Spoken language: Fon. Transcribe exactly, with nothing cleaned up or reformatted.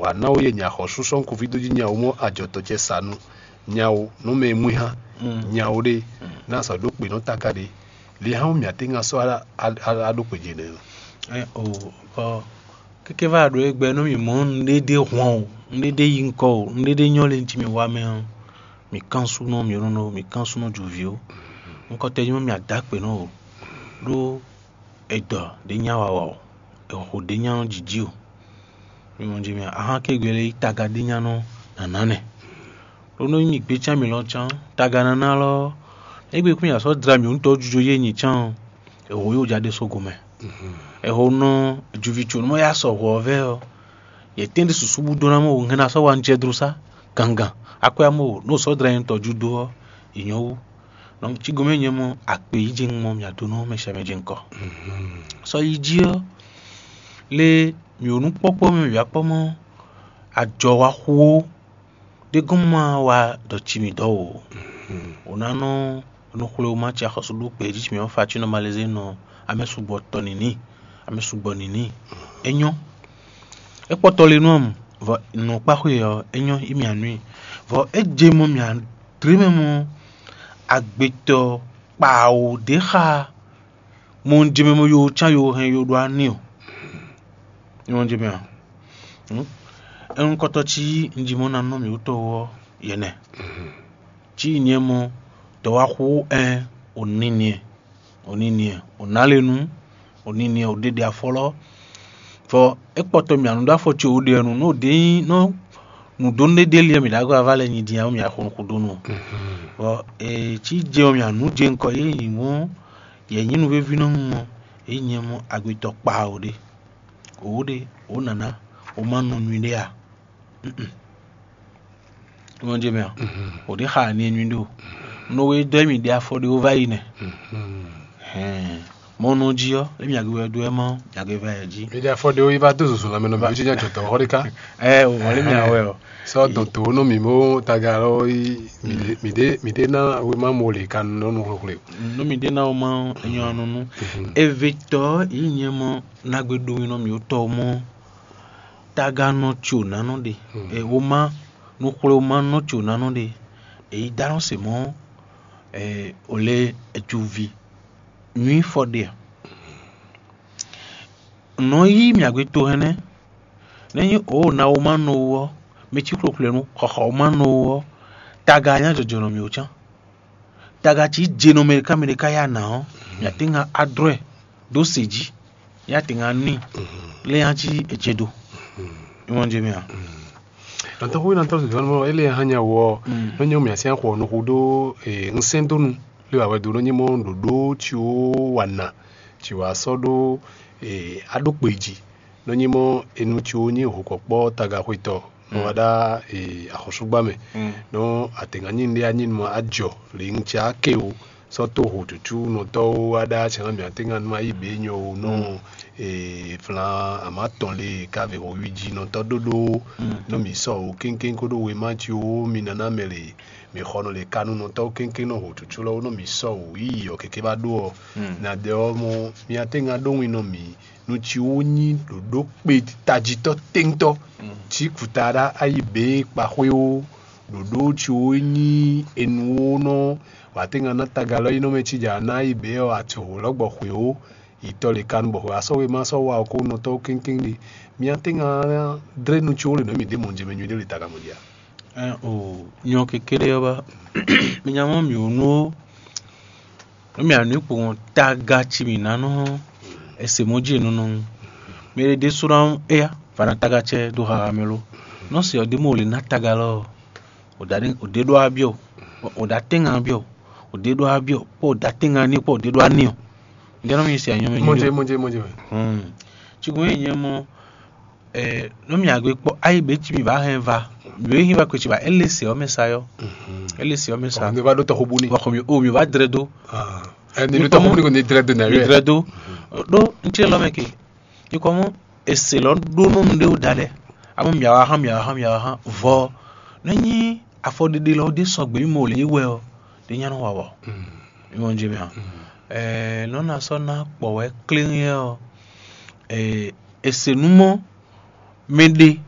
Wǎ ná ó yɛ nya xɔ súsɔ́ kúví dó jí nya ó mɔ ajɔtɔ́ ce sa nú nya ó nú mɛ e mú i hán nya ó ɖe ná sɔ́ ɖó kpe nɔ táká ɖe. Li hán mì atín ŋa sɔ́ á ɖó kpe jɛ nɛ. Ɛ o bɔ kéké va ɖo égbé nú mì mɔ nǔɖéɖé hɔn o, nǔɖéɖé yi ŋkɔ o, nǔɖéɖé nyɔ́ lé jí mi wá mɛ ɔ́, mì kán súnɔ mì nɔnɔ mì kán súnɔ jǒví o. Ŋkɔ tɛ nyɔ́ mì adǎ kpe nɔ o. Ɖó edɔ ɖě nya wa wa o, eho ɖě nya nɔ jiji o. Mi mɔ jí mi ahán ké gbɛ lɛ́ɛ yí taga ɖé nya nɔ nǎná nɛ. Ɖó nú nyí gbécán mǐ lɔ cán, taga nǎná lɔ, égbé kún nyi asɔ́ dla mǐ wúntɔ́ jujɔ yé nyi cán ɔ́, eho yóò ja ɖé sógo mɛ. Eho nɔ juvi co nú yá sɔ hwɔ ɔ́ vɛ ɔ́, yě tɛ́n ɖé susu bú dó ná mɔ hɛn ná sɔ́ wa nú jɛ dló sá gangan. Akwɛ́ amɔ nú sɔ́ dla nyɛ tɔjú dó ɔ́, yě nyɔ́ wú. Nɔ cí gomɛ nyɛ mɔ akpe yí jɛ mɔ mì adó nɔ mɛ sɛ mɛ jɛ ŋkɔ. Sɔ yi jí ɔ́, lé mì wǒ nú kpɔ́kpɔ́ mɛ mì wá kpɔ́ mɔ ajɔ wa xú ó. Ɖé gɔ́n ma wa ɖɔ ci mì dɔ́ o. Wǒ ná nɔ nɔ xwlé wú má ci axɔ́sú ɖó gbě jí ci mì ɔ́ fa cí nɔ malezé nɔ amɛ sugbɔ tɔ nǐní, amɛ sugbɔ nǐní. É nyɔ́. É kpɔ́tɔ lé nú ɔ́ vɔ nɔ kpá xwé ɔ́, é nyɔ́ í mì anú i. Vɔ é je mɔ mì adlé mɛ mɔ agbetɔ kpaawo ɖě xa mɔ un jɛ mɛ mɔ yo cán yo hɛn yo ɖó ani o. Ní wọ́n jẹ́ mɛ a? Ɛnu kɔtɔ ci un ji mɔ ná nɔ mì wútɔ ɔ́ yɛ nɛ. Ci nyɛ mɔ dɔ̌wáxú ɛn òní niɛ, òní niɛ, òná lé nu, òní niɛ, òɖeɖe afɔlɔ. Vɔ é kpɔtɔ mì anu ɖó afɔ ci òɖe ɛnu nú òɖe nyí nɔ nǔdónú ɖé ɖé liɛ mì ɖo agɔ ava lɛ nyi din awo mì axɔnukúdónú. Vɔ ee ci jɛ mì anu jɛ ŋkɔ yé nyi mɔ yɛ nyí nu véví nɔ mɔ yé nyɛ mɔ agbetɔ kpa o ɖe. Wǒ ɖe wǒ nǎná wǒ má nɔ nyuiɖé a? Wọ́n jẹ́ mɛ ɔ́, wǒ ɖé xa ani nyuiɖé o. Nú wé dɔ́ mì ɖe afɔ ɖé wó vá yi nɛ. Hɛn mɔ nɔ jí ɔ́, é mì agbe wɛ ɖó ɛ mɔ mì agbe vá yɛ jí. Mi ɖe afɔ ɖé wó yi va dó zozo lanmɛ nɔ mì jí nya jɔtɔ xɔ ɖé ká. Ɛ o wọ́n lé mì awɛ ɔ. Sɔ dɔn tó nɔ mì mó taga lɔ yi mì ɖé mì ɖé ná wé má mo lè ka nɔ nɔ xwlexwle. Nú mi ɖé ná wó má enyɔ anɔ nú. Eve tɔ yi nyɛ mɔ nagbe ɖo mi nɔ mì wó tɔ mɔ. Taga nɔ tso nánɔ ɖe. Woma nukxwlewoma nɔ tso nánɔ ɖe. Èyí dá nɔ se mɔ o lé ecuvi nyui fɔ ɖe a? Nɔ yí mì agbe to hɛnɛ. Nɛ nyi o na woma nɔ wo ɔ, mɛ cí xwlexwlenu xɔxɔ woma nɔ wo ɔ, taga nya jɔjɔ nɔ mì o cán. Taga cí je nɔ mɛ ɖeka mɛ ɖeka ya nǎ ɔ́, mì atín ŋa adrɔ́ ɛ ɖó se jí. Yá tɛ́nga n'i lé yá cí èjeɖo. Ìwọ̀n jẹ mì a? Nantɔxu nantɔ zɔnmɔ ele hã nya wɔ nɔ nyɔ mì asi axɔ nɔ hu ɖó ŋsɛn donu lé wà wɛ do nɔ nyɛ mɔ ɖoɖo tí ó wà nà tí wà sɔ ɖó aɖókpe jí nɔ nyɛ mɔ enu tí ó nyɛ hokɔkpɔ tagaxwetɔ nɔ wà ɖá axɔsúgbà mɛ nɔ atɛnga nyi lé anyi nɔ ajɔ lé ŋtsɛ ake o. Sɔ́ tó hǒtútú nɔtɔ́ wá ɖá cɛ́nlá mǐ atɛ́ngan nú ayíběnyɔ ó nɔ flan amǎ tɔn lé káve hǒwíjínɔtɔ́ ɖóɖó nú mǐ sɔ wǒ kéŋkéŋ kódó wěma cí ó mi naná mɛ lě. Mǐ xɔ nɔ lě ka nú nɔtɔ́ kéŋkéŋ nɔ hǒtútú lɔ́ ó nɔ mǐ sɔ wǒ yíyí ɔ́ kéké bá ɖó ɔ́. Nǎ ɖɛ ɔ́ mɔ mi atɛ́ngan ɖó win nɔ mǐ nú cí ó nyí ɖǒɖó kpe tajitɔ́ téŋtɔ́ cí kùtaɖá ayíbě kpaxwé ó. Ɖoɖo ciwo nyí enuwonɔ wǎtɛ́ngan ná tagalɔ́yínɔ́ mɛ cí jà ná yi bě ɔ́, atihǒ lɔ́ gbɔ xwě ó, yi tɔ lě kanu bɔ xwě wá sɔ́ wema sɔ́ wa ɔ́ kó nɔ tɔ́ kéŋkéŋ ɖe. Mi atɛ́ngan ná dlé nu ciwo le nɔ mì ɖě mɔ̌ jɛ mɛ nyuɖé le tagamɔ jí a? Ɛn o, nyɔ kékeré ɔ́ ba mi nya mɔ mì wǒ nú ó. Nú mì anǔ kpowun taga ci mì ná nɔ ese mɔ jí nɔnɔ. Mɛ ɖé ɖésú ná éya va ná taga cɛ dó haha mɛ lo. Nɔ se ɔ́ ɖé mɔ wòle ná taga lɔ ɔ́, wòɖa ɖé wòɖé ɖó abyɔ, wòɖa tɛnga abyɔ, wòɖé ɖó abyɔ, kpɔ wòɖa tɛnga ní kpɔ wòɖé ɖó aní ɔ. Ŋgɛ nɔ mi se anyɔ mɛ. Mɔdze mɔdze mɔdze. Hmm. Tsugun yi nyɛ mɔ nú mì agbe kpɔ ayi be ci mi va hɛn va mi be hin va kwe ci ba ele se ɔmɛ sa yɔ. Ele se ɔmɛ sa. Mi va ɖo tɔxu bu ni. Wa xɔ mi o mi va dre do. Ɛni ɖo tɔxu bu ni ko ni dre do na yɔ. Mi dre do. Ɖo ŋtí lɔ mɛ ke. Ikɔ mɔ ese lɔ ɖo nɔ nu ɖe wo da lɛ. Amɔ mi awa hã mi awa hã mi awa hã vɔ. Ne nyi afɔɖeɖe lɔ ɖe sɔgbe mi mɔ le yi wɛ ɔ ɖe nya nɔ wa wɔ. Mi mɔ nje mi hã. Ɛɛ nɔ na sɔ na kpɔ wɛ kléŋ yɛ ɔ. Ɛɛ ese nu mɔ mɛ ɖe